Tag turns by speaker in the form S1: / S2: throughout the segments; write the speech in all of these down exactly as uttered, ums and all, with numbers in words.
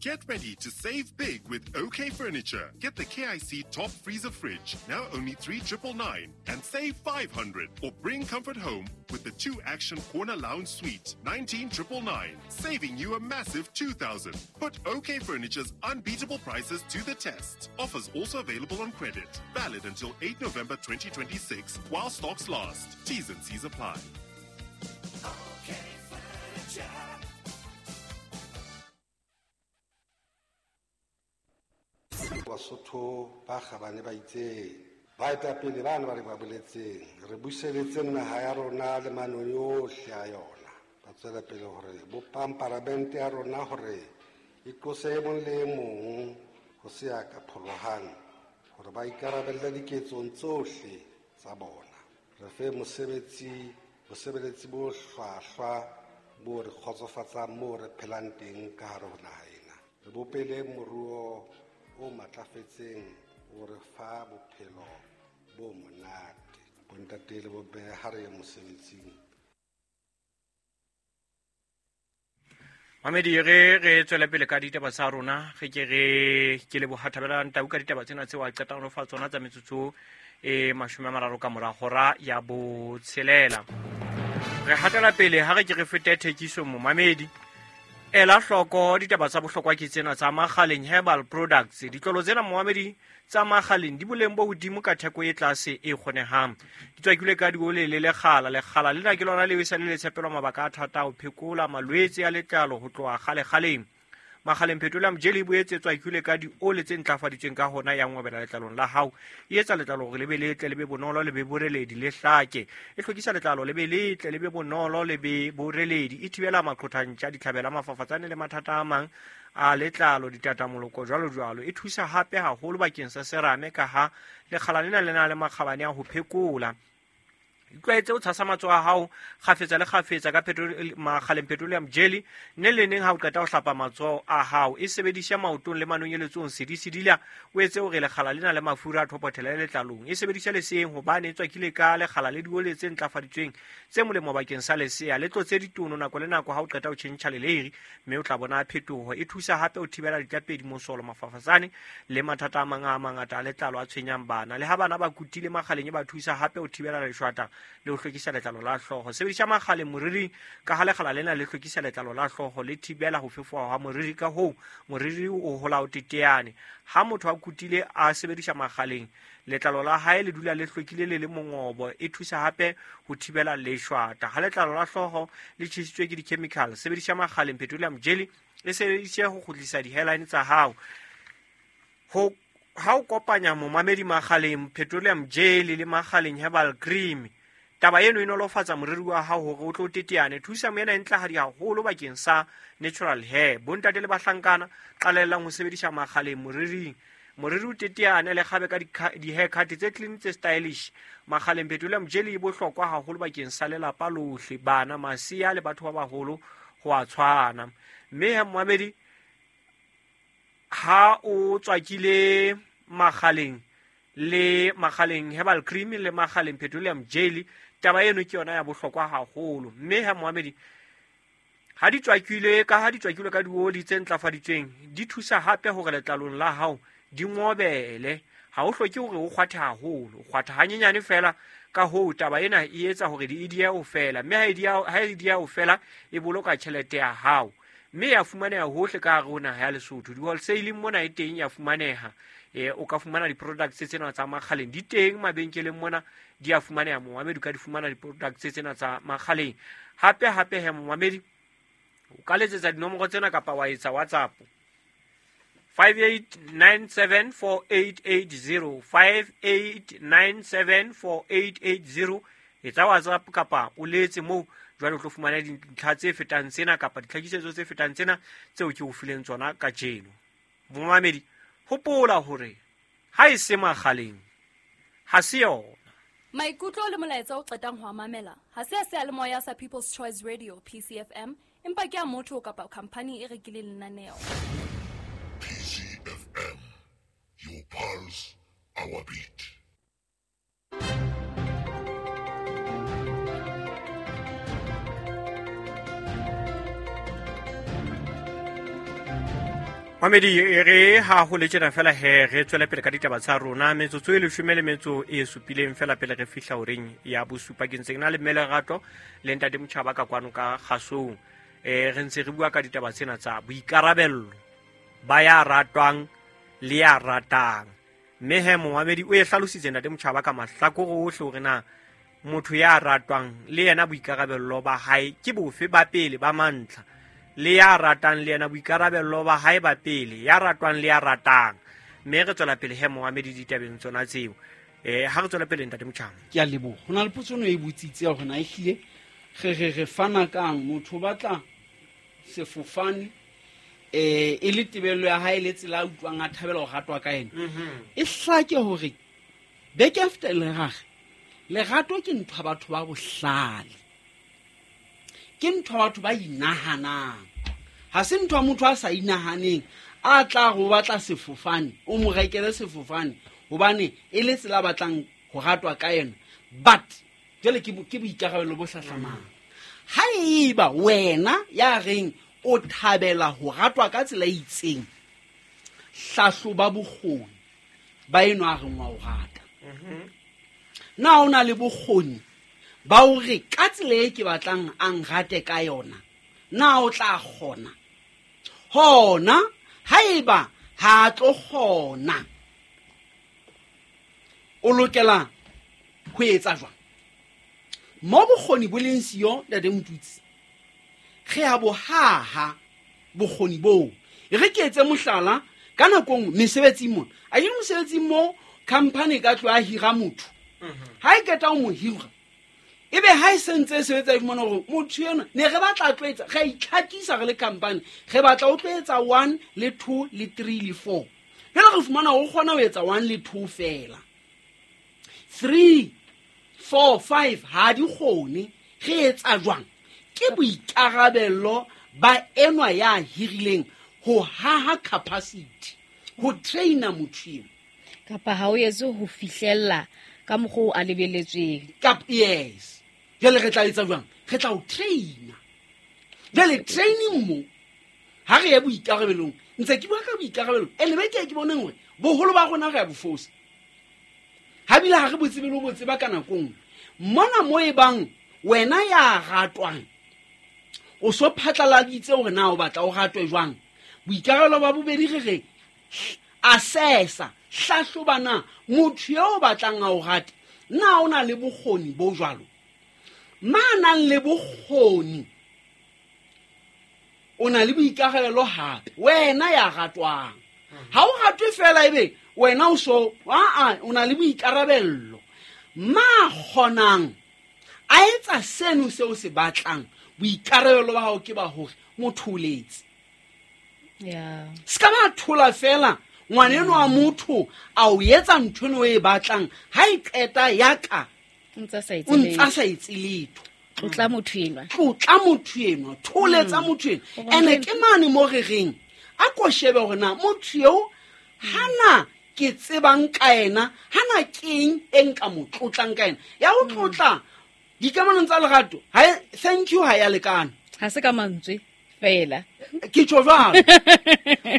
S1: Get ready to save big with OK Furniture. Get the K I C Top Freezer Fridge, now only three triple nine, and save five hundred. Or bring comfort home with the two Action Corner Lounge Suite, nineteen triple nine, saving you a massive two thousand. Put OK Furniture's unbeatable prices to the test. Offers also available on credit. Valid until eighth November twenty twenty-six, while stocks last. T's and C's apply.
S2: OK Furniture.
S3: Basotho ba kgabane ba itseng baetapele bana ba re ba boletseng re buseletse naha ya rona le manoni ohle a yona ba tswela pele hore bopang paramente ya rona hore e tlose e mong le e mong ho se ya ka pholohang hore ba ikarabelle diketsong tsohle tsa bona re fe mosebetsi bosebeletsi bo hlwahlwa bo re kgotsofatsang moo re phelang teng ka hare ho naha ena re bopele moruo o matlafetseng o re fa bophelo bo monate bontate le bomme ha re ye mosebetsing.
S4: Mamedi re re tswele pele ka ditaba tsa rona re ke re ke leboha Thabelang Tau ka ditaba tsena tseo a qetang ho fa tsona tsa metsotso e mashome a mararo ka mora hora ya botshelela. Re hatela pele ha re ke re fete thekiso momamedi. Ela hloko ditaba tsa bohlokwa ke tsena tsa Makgaleng Herbal Products. Ditlolo tsena momamedi tsa Makgaleng di boleng bo hodimo ka theko e tlase e kgonehang. Di tswakilwe ka diole le lekgala. Lekgala lena ke lona leo e sa le letshepelwa mabaka a thata ho phekola malwetse a letlalo ho tloha kgale-kgaleng. Makgaleng Petroleum Jelly e boetse e tswakilwe ka diole tse ntlafaditsweng ka hona ya ngwabela letlalong la hao. E etsa letlalo hore le be letle, le be bonolo, le be boreledi, le hlake. E hlwekisa letlalo le be letle, le be bonolo, le be boreledi. E thibela maqhothantša, ditlhabela, mafafatsane le mathata a mang a letlalo, ditatamoloko jwalo jwalo. E thusa hape haholo bakeng sa serame ka ha lekgala lena le na le makgabane a ho phekola. Itlwaetse o tshasa matsoho a hao kgafetsa le kgafetsa ka Makgaleng Petroleum Jelly ne le neng ha o qeta ho hlapa matsoho a hao. E sebedisha maotong le manonyeletsong sedi-sedila o etse hore lekgala lena le mafura a thopothele letlalong. E sebedisha leseeng hobane e tswakile ka lekgala le diole tse ntlafaditsweng tse molemo bakeng sa lesea. Le tlotse ditono nako le nako ha o qeta ho tjhentjha leleiri mme o tla bona phetoho. E thusa hape ho thibela ditlapedi, mosolo, mafafatsane le mathata a mang a mangata a letlalo a tshwenyang bana. Le ha bana ba kutile Makgaleng e ba thusa hape ho thibela leshwata le ho hlwekisa letlalo la hlooho. Sebedisa Makgaleng moriring ka ha lekgala lena le hlwekisa letlalo la hlooho le thibela ho fefoha ha moriri, ka hoo moriri o hola o teteane. Ha motho a kutile a sebedisa Makgaleng letlalo la hae le dula le hlwekile le le mongobo. E thusa hape ho thibela leshwata. Ha letlalo la hlooho le tjhesitswe ke di-chemical, sebedisa Makgaleng Petroleum Jelly e sebedise ho kgutlisa di-hairline tsa hao. Ho ha o kopanya momamedi Makgaleng Petroleum Jelly le Makgaleng Herbal Cream, taba eno e nolofatsa moriri wa hao hore o tlo teteane. Thusa moena e ntlahadi haholo bakeng sa natural hair. Bontate le bahlankana qalellang ho sebedisa Makgaleng moriring. Moriri o teteane le kgabe ka di-haircut tse clean tse stylish. Makgaleng Petroleum Jelly e bohlokwa haholo bakeng sa lelapa lohle, bana, masea le batho ba baholo ho a tshwana. Mme ha momamedi ha o tswakile Makgaleng le Makgaleng Herbal Cream le Makgaleng Petroleum Jelly, taba eno ke yona ya bohlokwa haholo. Mme ha momamedi ha di tswakilwe ka ha di tswakilwe ka dioli tse ntlafaditsweng di thusa hape hore letlalong la hao di ngobele. Ha o hloke hore o kgwathe haholo, o kgwatha hanyenyane fela. Ka hoo taba ena e etsa hore di di ya o fela, mme ha e di ya ha e di ya o fela e boloka tjhelete ya hao. Mme ya fumaneha hohle ka hare ho naha ya Lesotho. Di-wholesaling mona e teng ya fumaneha. E, o ka fumana di-products tsena tsa Makgaleng di teng mabenkeleng mona, di a fumaneha momamedi, o ka di fumana di-products tsena tsa Makgaleng. Hape hape he momamedi o ka letsetsa dinomoro tsena kapa wa etsa WhatsApp five eight nine seven four eight eight zero five eight nine seven four eight eight zero. Etsa WhatsApp kapa o letse moo jwale o tlo fumana dintlha tse fetang tsena kapa ditlhakisetso tse fetang tsena tseo ke o fileng tsona kajeno. Momamedi hopola hore ha e se Makgaleng ha se yona.
S5: Maikutlo le molaetsa o qetang ho mamela ha se a seyalemoya sa People's Choice Radio P C F M, empa ke a motho kapa khampani e rekileng lenaneo.
S6: P C F M, your pulse, our beat.
S4: Mamedi re ha ho le tjena fela he re tswele pele ka ditaba tsa rona metsotso e leshome le metso e supileng fela pele re fihla horeng ya bosupa. Ke ntse ke na le Mme Lerato le Ntate Motjhaba ka kwano ka kgasong. Eh re ntse re bua ka ditaba tsena tsa boikarabello ba ya ratwang le ya ratang. Mme he momamedi o e hlalositse Ntate Motjhaba ka mahlakore ohle hore na motho ya ratwang le yena boikarabello ba hae ke bofe ba pele ba mantlha, le ya ratang le yena boikarabello ba hae ba pele, ya ratwang le ya ratang. Mme re tswela pele he momamedi ditabeng tsona tseo. Eh ha re tswela pele Ntate Motjhaba.
S7: Ke a leboha. Ho na le potso e botsitse ya hore na ehlile re re re fana kang motho o batla sefofane eh e le tebello ya hae le tsela a utlwang a thabela ho ratwa ka ena. E hlake hore beke after lerage lerato ke ntho ya batho ba bohlale, ke ntho ya batho ba inahanang. Ha se ntho ya motho a sa inahaneng a tla go batla sefofane o mo rekele sefofane hobane e le tsela a batlang ho ratwa ka yena. But jwale ke ke boikarabelo bo hlahlamang. Ha eba wena ya reng o thabela ho ratwa ka tsela e itseng, hlahloba bokgoni ba eno a reng wa o rata. Na o na le bokgoni ba hore ka tsela e ke batlang a nrate ka yona, na o tla kgona? Hona haeba ha tlo kgona, o lokela ho etsa jwang? Mo bokgoni bo leng siyo Ntate Motutsi, re a bo haha bokgoni boo. E re ke etse mohlala ka nako nngwe mesebetsing mona. A ke mosebetsing mo company ka tlo a hira motho. Ha e qeta ho mo hira, ebe ha e sentse e sebetsa e fumana hore motho enwa ne re batla a tlo etsa, re a itlhakisa re le company, re batla o tlo etsa one le two le three le four. Jwale re fumana hore o kgona ho etsa one le two fela. Three, four, five ha di kgone. Re etsa jwang? Ke boikarabello ba enwa ya hirileng ho haha capacity, ho traina motho eo.
S8: Kapa ha o etse ho fihlella ka mokgwa o a lebeletsweng.
S7: Kap, yes. Jwale re tla etsa jwang? Re tla o traina. Jwale training mo ha re ye boikarabelong, ntse ke bua ka boikarabelo ene be ke ke boneng hore boholo ba rona re a bofosa. Ha bile ha re bo tsebe le ho bo tseba ka nako nngwe. Mona mo e bang wena ya ratwang o so phatlaladitse hore na o batla o ratwe jwang. Boikarabelo ba bobedi re re assessa, hlahloba na motho eo o batlang a o rate na o na le bokgoni bo jwalo. Ma nang le bokgoni o na le boikarabelo hape wena ya ratwang. Ha o ratwe fela ebe wena o so a o na le boikarabello. Ma kgonang a etsa seno seo se batlang, boikarabelo ba hao ke ba hore motho o letse.
S8: Yeah.
S7: Se ka ba thola fela ngwaneno wa motho a o etsa ntho eno e batlang, ha e qeta ya ka
S8: O ntsa sa etse
S7: o ntsa
S8: letho.
S7: sa etse letho.
S8: Tlotla motho enwa.
S7: Tlotla motho enwa, tholetsa motho enwa.
S8: Hore
S7: Ene
S8: ntho
S7: ke mane mo re reng a ko shebe hore na motho eo hana ke tsebang ka yena, hana keng e nka mo tlotlang ka yena. Ya ho tlotla dikamanong tsa lerato, ha e, thank you ha ya lekana.
S8: Ha se ka mantswe fela.
S7: Ke tjho jwalo.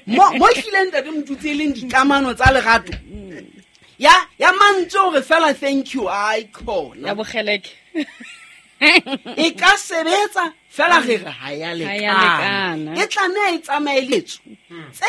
S7: Mo, mo ehlileng Ntate Motutsi e leng dikamano tsa lerato. Ya, ya mantswe hore fela thank you, ai khona.
S8: Ya bokgeleke.
S7: E ka sebetsa fela re re ha ya
S8: Ha ya
S7: lekana.
S8: lekana.
S7: E tlameha e tsamaye letso. Tse